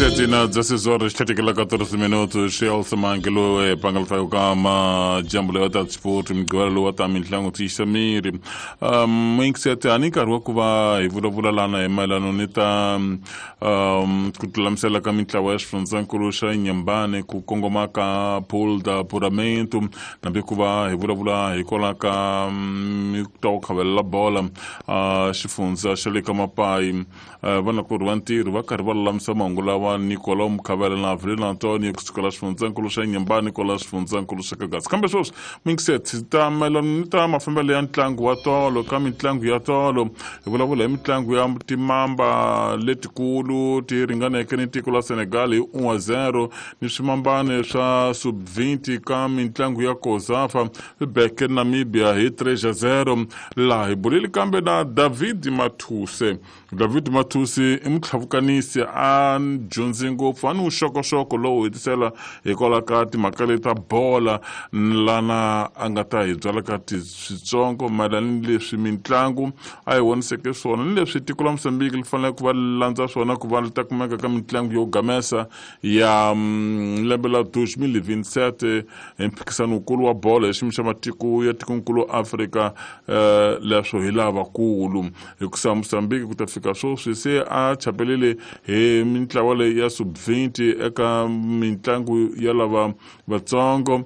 Sete na 16 horas 34 minutos. Elsa Mangelo e pangal kama jambo lewa ta sport migwela lowa ta mitlangu tiyisa miri. Mingisete a ni nkarhi wa ku va hi vulavula lana hi mayelano ni ta ku tilulamisela ka mintlawa ya xifundzankulu xa Nyambane ku kongoma ka Pool da Puramento, nambi ku va hi vulavula hikwalaho ka ta ku khavelela bola xifundza xa le ka Mapayi. Vanakulorhi va ntirho va karhi va lulamisa mahungu lawa Nicolau Mukhavela na Avelino Antonio kusukela xifundzankulu xa Nyambane kwala xifundzankulu xa Kagasi. Kambe sweswi mingiseti ta mayelana ni ta mafambelo ya ntlangu wa tolo. Ka mitlangu ya tolo hi vulavula hi mitlangu ya timamba letikulu ti ringaneke ni tiko la Senegal hi 1-0, ni swimambane swa sub-20 ka mitlangu ya COSAFA swi beke Namibia hi 3-0. Laha hi bulile kambe na David Mathuse. David Mathusi i mutlhavukanisi, a dyondzi ngopfu, a ni vuxokoxoko lowu hetisela hikwalaho ka timhaka leti ta bola, lana a nga ta hi byala ka switsongo mayelana ni leswi mitlangu a hi voniseke swona ni leswi tiko la Mozambique li fanele ku va landza swona ku va li ta kumeka ka mitlangu yo gamesa ya lembe la 2027 hi mphikisano wukulu wa bolo hi xiyimo xa matiko ya tikonkulu Afrika. Leswo hi lavakulu hikusa Mozambique ku ta fika sweswi se a chapelele hi mintlawa leyi ya sub-20 eka mitlangu ya lava vatsongo.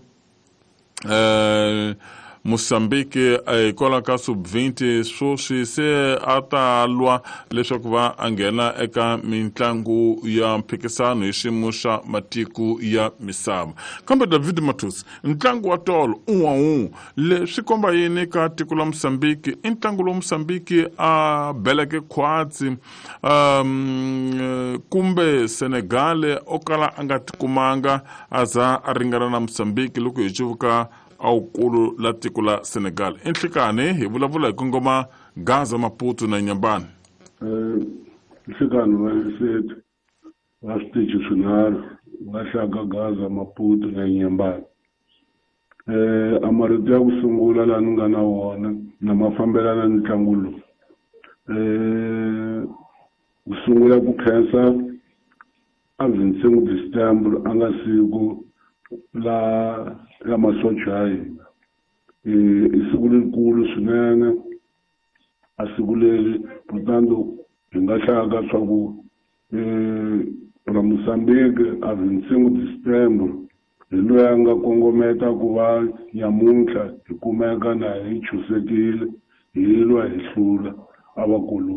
Mozambique hikwalaho ka sub-20 sweswi se a ta lwa leswaku va a nghena eka mitlangu ya mphikisano hi xiyimo xa matiko ya misava. Kambe David Mathusi, ntlangu wa tolo un'wa leswi komba yini ka tiko la Mozambique? I ntlangu lowu Mozambique a beleke khwatsi kumbe Senegal o kala a nga tikumanga a za a ringana na Mozambique loko hi cuvuka awukulu la tiko la Senegal? I nhlikani hi vulavula hi kongoma Gaza, Maputo na Nyambani. Nhlikani va Lesotho va switichi swinharhu va hlaka Gaza, Maputo na Nyambani. A marito ya ku sungula laha ni nga na wona na ma fambelana ni ntlangu lowu, ku sungula ku khensa a 25 December a nga siku la ya masocha ya hina. I siku lerikulu swinene a siku leri, portanto hi nga hlaka swa ku ra Mozambique a 25 December hi loyi a nga kongometa ku va nyamuntlha hi kumeka na hi chusekile hi lwa hi hlula a vakuloni.